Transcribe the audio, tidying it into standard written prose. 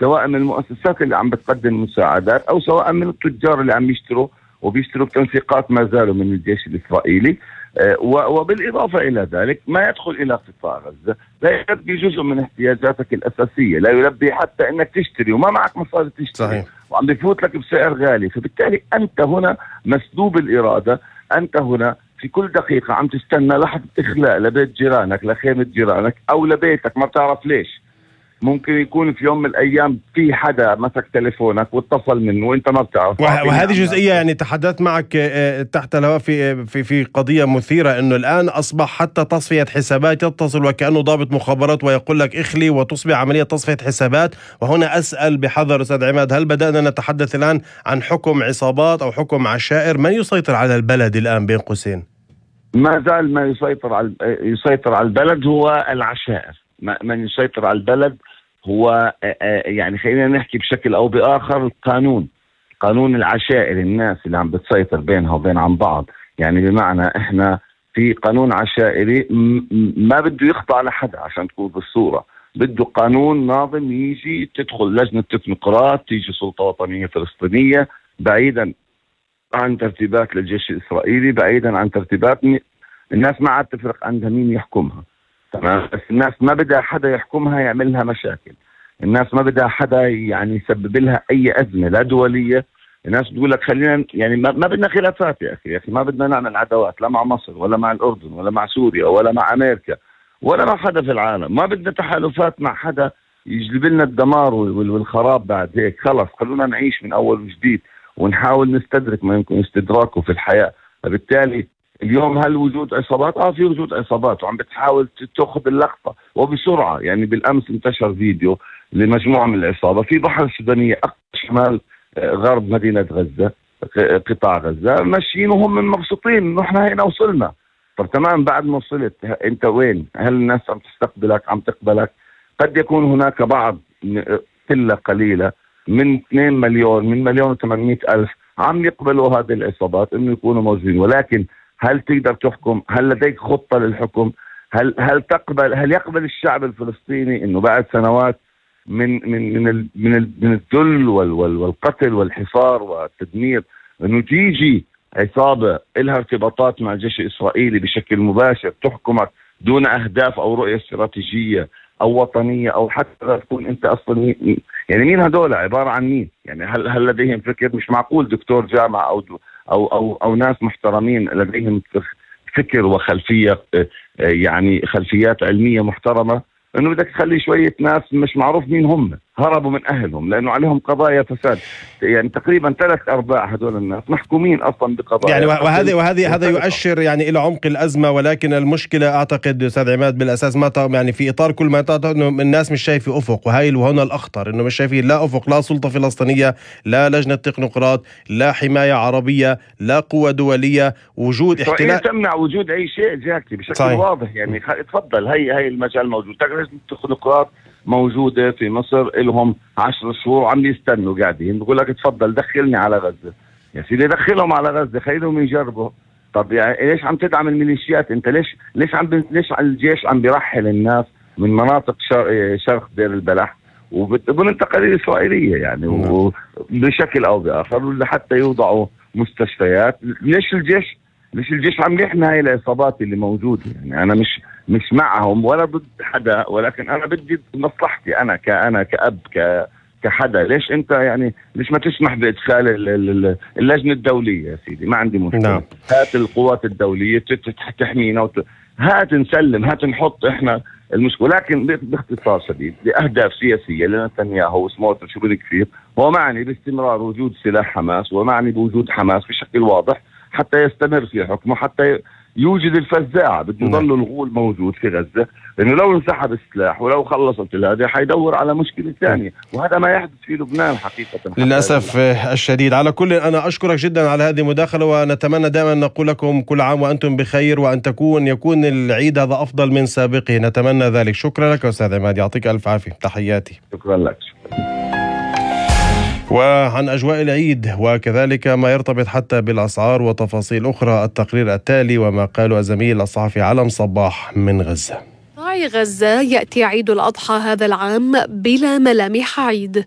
سواء من المؤسسات اللي عم بتقدم مساعدات أو سواء من التجار اللي عم يشتروا وبيشتروا بتنسيقات ما زالوا من الجيش الإسرائيلي. وبالإضافة إلى ذلك ما يدخل إلى قطاع غزة لا يلبي جزء من احتياجاتك الأساسية، لا يلبي حتى أنك تشتري وما معك مصاري تشتري. صحيح. وعم بيفوت لك بسعر غالي. فبالتالي أنت هنا مسلوب الإرادة، أنت هنا في كل دقيقة عم تستنى لحظة إخلاء لبيت جيرانك، لخيمة جيرانك أو لبيتك، ما بتعرف ليش. ممكن يكون في يوم من الأيام في حدا مسك تليفونك واتصل منه وانت ما بتعرف. وهذه جزئية يعني تحدثت معك تحت الهواء في قضية مثيرة، انه الآن أصبح حتى تصفية حسابات يتصل وكأنه ضابط مخابرات ويقول لك اخلي وتصبح عملية تصفية حسابات. وهنا أسأل بحذر أستاذ عماد، هل بدأنا نتحدث الآن عن حكم عصابات أو حكم عشائر؟ من يسيطر على البلد الآن بين قوسين؟ ما زال ما يسيطر على البلد هو العشائر. من يسيطر على البلد هو يعني خلينا نحكي بشكل أو بآخر قانون العشائر، الناس اللي عم بتسيطر بينها وبين عن بعض. يعني بمعنى إحنا في قانون عشائري ما بده يخضع لحدا عشان تكون بالصورة، بده قانون ناظم يجي تدخل لجنة تكنوقراط، تيجي سلطة وطنية فلسطينية بعيدا عن ترتيبات للجيش الإسرائيلي، بعيدا عن ترتيبات الناس ما عاد تفرق عندها مين يحكمها. تمام. بس الناس ما بدها حدا يحكمها يعمل لها مشاكل، الناس ما بدها حدا يعني يسبب لها أي أزمة لا دولية. الناس بتقول لك خلينا يعني ما بدنا خلافات يا أخي ما بدنا نعمل عداوات لا مع مصر ولا مع الأردن ولا مع سوريا ولا مع أمريكا ولا مع حدا في العالم. ما بدنا تحالفات مع حدا يجلب لنا الدمار والخراب بعد هيك. خلص خلونا نعيش من أول وجديد ونحاول نستدرك ما يمكن استدراكه في الحياة. فبالتالي اليوم هل وجود عصابات؟ في وجود عصابات وعم بتحاول تأخذ اللقطة وبسرعة. يعني بالأمس انتشر فيديو لمجموعة من العصابة في بحر السودانية شمال غرب مدينة غزة، قطاع غزة، ماشيين وهم مبسوطين انه احنا هنا وصلنا. طب تمام، بعد ما وصلت انت وين؟ هل الناس عم تستقبلك، عم تقبلك؟ قد يكون هناك بعض قلة قليلة من 2 مليون، من 1,800,000 عم يقبلوا هذه العصابات انه يكونوا موجودين. ولكن هل تقدر تحكم؟ هل لديك خطة للحكم؟ هل يقبل الشعب الفلسطيني انه بعد سنوات من الذل والقتل والحصار والتدمير انه تيجي عصابة لها ارتباطات مع الجيش الاسرائيلي بشكل مباشر تحكمك دون اهداف او رؤية استراتيجية او وطنية او حتى تكون انت اصلا يعني مين هدول؟ عبارة عن مين؟ يعني هل لديهم فكر؟ مش معقول دكتور جامعة او ناس محترمين لديهم فكر وخلفية يعني خلفيات علمية محترمة انه بدك تخلي شوية ناس مش معروف مين هم هربوا من اهلهم لانه عليهم قضايا فساد. يعني تقريبا 3/4 هدول الناس محكومين اصلا بقضايا يعني وهذه هذا يؤشر يعني الى عمق الازمة. ولكن المشكلة اعتقد استاذ عماد بالاساس ما يعني في اطار كل ما تعتقد انه الناس مش شايفة افق، وهنا الاخطر انه مش شايفين لا افق، لا سلطة فلسطينية، لا لجنة تكنوقراط، لا حماية عربية، لا قوة دولية، وجود احتلال تمنع وجود اي شيء جاكي بشكل صحيح. واضح. يعني تفضل هي المجال موجود. لجنة التكنوقراط موجودة في مصر لهم 10 شهور وعم يستنوا قاعدين، بقول لك تفضل دخلني على غزة. يا سيدي دخلهم على غزة، خليهم يجربوا. طب يعني ليش عم تدعم الميليشيات انت؟ ليش الجيش عم بيرحل الناس من مناطق شرق دير البلح وبدون تقارير إسرائيلية يعني بشكل او باخر حتى يوضعوا مستشفيات؟ ليش الجيش عم يحمي هاي العصابات اللي موجودة؟ يعني انا مش معهم ولا ضد حدا، ولكن انا بدي مصلحتي انا كأب كحدا. ليش انت يعني ليش ما تسمح بادخال اللجنة الدولية؟ يا سيدي ما عندي مشكلة. نعم. هات القوات الدولية تحمينا هات نسلم، هات نحط احنا المشكلة. لكن باختصار شديد لأهداف سياسية لنتنياهو وسموتريتش وبن كفير هو معني باستمرار وجود سلاح حماس ومعني بوجود حماس بشكل واضح حتى يستمر في حكمه، حتى يوجد الفزاعة. بده يضل الغول موجود في غزة، لأنه لو انسحب السلاح ولو خلصت هذا حيدور على مشكلة ثانية، وهذا ما يحدث في لبنان حقيقة للأسف الشديد. على كل أنا أشكرك جدا على هذه المداخلة، ونتمنى دائما نقول لكم كل عام وأنتم بخير، وأن يكون العيد هذا أفضل من سابقه، نتمنى ذلك. شكرا لك أستاذ عماد، يعطيك ألف عافية، تحياتي. شكرا لك. وعن أجواء العيد وكذلك ما يرتبط حتى بالأسعار وتفاصيل أخرى التقرير التالي وما قاله الزميل الصحفي علم صباح من غزة. غزة يأتي عيد الأضحى هذا العام بلا ملامح عيد.